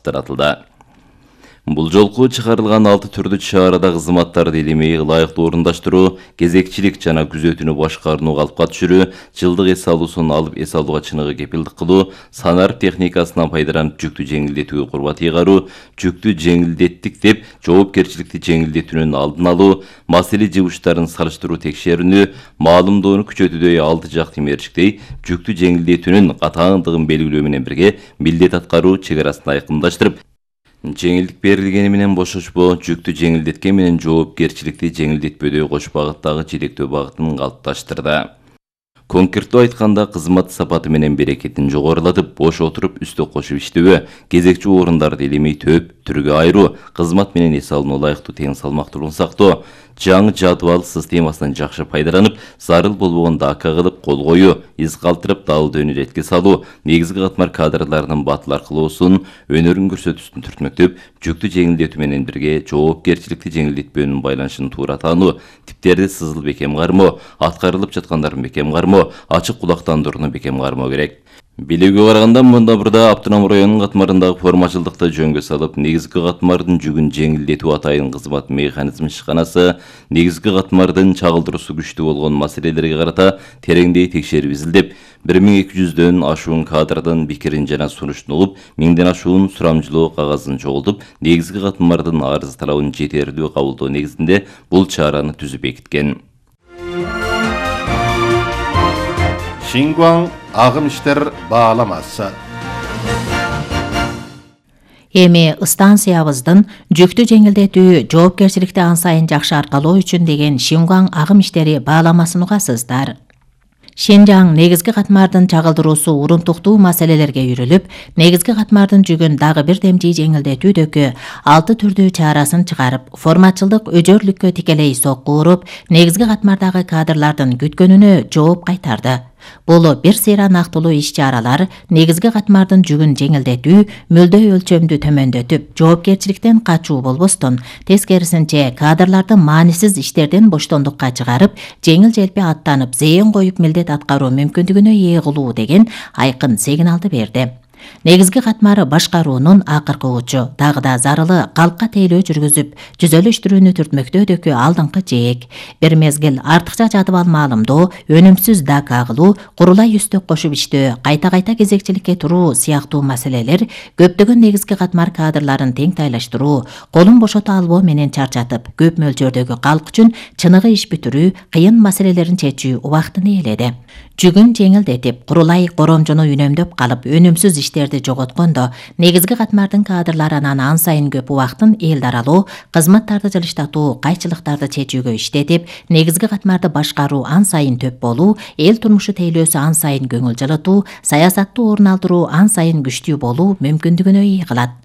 таратылды. Бул жолку чыгарылган 6 түрдүү чарада кызматтарды илимей ылайыктуу орундаштыруу, кезекчилик жана күзөтүүнү башкарууну калыпка түшүрүү, жылдык эс алуусун алып эс алууга чыныгы кепилдик кылуу, санарып техникасынан пайдаланып жүктү жеңилдетүүгө курбат ыйгаруу, жүктү жеңилдеттик деп жоопкерчиликти жеңилдетүүнүн алдын алуу, маселе жыгыштарын салыштыруу текшерүүнү, маалымдоону күчөтүүдөй алты жакты мерчиктей жүктү жеңилдетүүнүн катаандыгын белгилөө менен бирге милдет аткаруу чегарасын айкындаштырып, жеңилдик берилгени менен бошошпоо, жүктү жеңилдеткен менен жоопкерчиликти жеңилдетпөдө кош багыттагы жетектөө багытын калыпташтырды. Конкреттүү айтканда, кызмат сапаты менен берекетин жогорулатып, бош отуруп үстө кошуп иштебөө, кезекчи орундарды илимей төп түргө айыруу, кызмат менен эс алууну ылайыктуу тең салмактуулугун сактоо, жаңы жадыбал системасынан жакшы пайдаланып, зарыл болбогондо ака кылып кол коюу, из калтырып дабылды өнөретке салуу, негизги катмар кадрларынын батыл аркылуусун, өнөрүн көрсөтүүсүн түртмөктөп, жүктү жеңилдетүү менен бирге жоопкерчиликти жеңилдетпөөнүн байланышын туура таануу, типтерди сызыл бекем кармоо, аткарылып жаткандарын бекем кармоо, ачык кулактандырууну бекем кармоо керек. Билүүгө караганда, мында бурда Автоном районунун катмарындагы формачылдыкты жөнгө салып, негизги катмардын жүгүн жеңилдетүү атайын кызмат механизм ишканасы, негизги катмардын чагылдыруусу күчтүү болгон маселелерге карата тереңдей текшерип изилдеп, 1200дөн ашуун кадрдын пикирин жана сунуштун угуп, 1000ден ашуун сурамжылоо кагазын чогултуп, негизги катмардын арыз талабын жетерлүү кабылдоо негизинде бул чараны түзүп бекиткен. Шингуан агым иштер бааламасы. Эми станциябыздын жүктү жеңилдетүү, жоопкерчиликти ан сайын жакшы аркалоо үчүн деген Шингуан агым иштери бааламасын угасыздар. Шинжаң негизги катмардын чагылдыруусу урунтуктуу маселелерге үйрүлүп, негизги катмардын жүгүн дагы бир демжи жеңилдетүүдөгү 6 түрдүү чарасын чыгарып, форматчылдык өжөрлүккө тикелей сокку уруп, негизги катмардагы кадрлардын күткөнүнө жооп кайтарды. Бул бир сыйра нактылуу иш-чаралар негизги катмардын жүгүн жеңилдетүү, мөлдөө өлчөмдү төмөндөтүп, жоопкерчиликтен качуу болбостон, тескерисинче кадрларды маанисиз иштерден боштондукка чыгарып, жеңил-желпи аттанып, зээн коюп милдет аткаруу мүмкүндүгүнө ээ кылуу деген айкын сигналды берди. Негизги катмары башкаруунун акыркы учу, дагы да зарылы калпка тейлөө жүргүзүп, жүзөлүштүрүүнү түртмөктөөдөгү алдыңкы жээк, бир мезгил артыкча жадыбал маалымдоо, өнүмсүз дак агылуу, курулай үстөк кошуп иштөө, кайта-кайта кезекчиликке туруу сыяктуу маселелер көптөгөн негизги катмар кадрларын тең тайлаштыруу, колун бошото албоо менен чарчатып, көп мөлчөрдөгү калк үчүн чыныгы иш бүтүрүү, кыйын маселелерин чечүү убактын ээледи. Жүгүн жеңилдетип, курулай коромжону үнөмдөп калып, өнүмсүз иштерди жоготкондо, негизги катмардын кадрлары анан ан сайын көп убактын эл даралоо, кызматтарды жылыштатуу, кайчылыктарды чечүүгө иштетип, негизги катмарды башкаруу ан сайын төп болуу, эл турмушу тейлөөсү ан сайын көңүл жылытуу, саясаттуу орун алдыруу ан сайын күчтүү болуу мүмкүндүгүнө ээ кылат.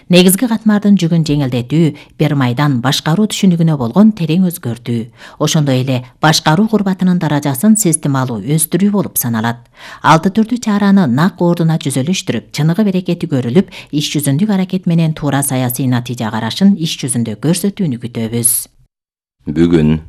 Негизги катмардын жүгүн жеңилдетүү, бир майдан башкаруу түшүнүгүнө болгон терең өзгөртүү. Ошондой эле башкаруу курбатынын даражасын системалуу өстүрүү болуп саналат. 6 түрдүү чараны нак ордуна жүзөлүштүрүп, чыныгы берекети көрүлүп, иш жүзүндүк аракет менен туура саясий натыйжа карашын иш жүзүндө көрсөтүүнү күтөбүз. Бүгүн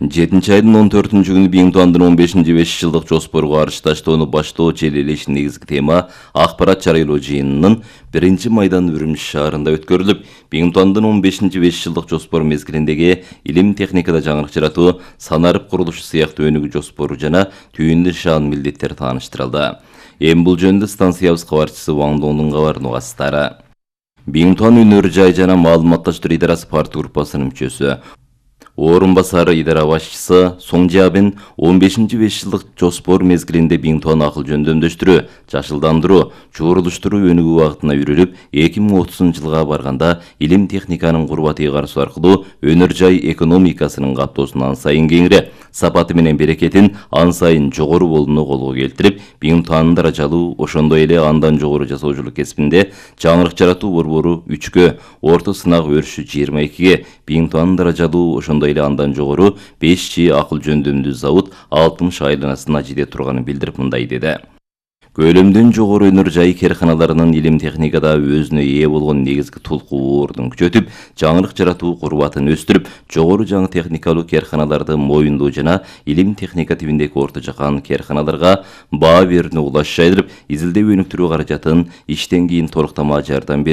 7-айдын 14-күнү Биңтуандын 15-5 жылдык жоспорго арчташтоону баштоо желелеш негизги тема акпарат жарыялоо жыйынынын 1-майдан Үрүмчү шаарында өткөрүлүп, Биңтуандын 15-5 жылдык жоспор мезгилиндеги илим техникада жаңылык жаратуу, санарып курулушу сыяктуу өнүгүү жоспору жана түйүндү шаан милдеттер тааныштырылды. Эми бул жөнүндө станциябыз кабарчысы Ваң Доңдун кабарын угасыздар. Биңтуан өнөр жай жана маалыматташтыруу идарасы партия группасынын мүчөсү, орун басары идара башчысы Соң Жабин 15-5 жылдык жоспор мезгилинде Биңтуан акыл жөндөмдөштүрүү, жашылдандыруу, чогулуштуруу өнүгүү багытына үйрүлүп, 2030-жылга барганда илим техниканын курбат ыйгарысуу аркылуу өнөр жай экономикасынын каттоосун ан сайын кеңири, сапаты менен берекетин ан сайын жогору болууну колго келтирип, Биңтуандын даражалуу, ошондой эле андан жогору жасоочулук кесибинде жаңылык жаратуу борбору 3-кө, орто сынак өрүшү 22-ге, Биңтуандын даражалуу, ошондой эле андан жогору 5G акыл жөндөмдүү завод 60 айланасына жете турганын билдирип мындай деди. Көлөмдөн жогору өнөр жай керканаларынын илим техникада өзүнө ээ болгон негизги толкуу ордун күчөтүп, жаңылык жаратуу курбатын өстүрүп, жогору жаңы техникалуу керканаларды моюндоо жана илим техника тибиндеги орто жакан керканаларга баа берүүнү улаш жайдырып, изилдөө өнүктүрүү каражатын иштен кийин толуктама жардам берүү